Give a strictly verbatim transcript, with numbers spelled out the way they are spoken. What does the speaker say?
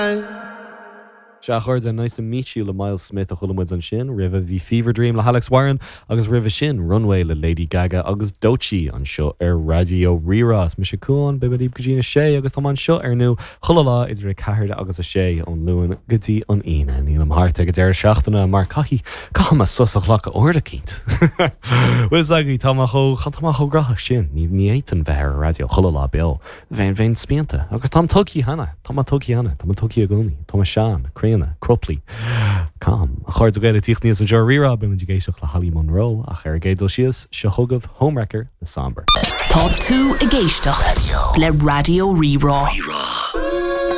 Sea a chairde Nice to Meet You le Myles Smith a chuala muid ansin, roimhe bhí Fever Dream le Alex Warren agus roimhe sin Runway le Lady Gaga agus Doechii anseo ar Raidió Rí-Rá is mise Cuán beidh mé libh go dtí a sé agus tá anseo ar ndóigh chuile lá idir a ceathair agus a sé ón Luan go dtí an Aoine nílim thart ag an deireadh seachtaine mar caithfidh caithfidh mé sos a ghlacadh uair eicínt. Well agaí tá tá mé chomh gnóthach sin ní ní fhéadfainn bheith ar an raidió chuile lá beo. Bheinn bheinn spíonta agus táim tugtha cheana Tá mé tugtha cheana Tá mé tugtha i gcónaí Tá mé sean, críonna, cruply. Cam a chairde Gael tíocht níos an seo rírá be ag éisteacht le Holly Monroe ach ar an gcéad dul síos seo chugaibh Homewrecker le Sombr. Tá tú ag éisteacht le Raidió Rí-Rá.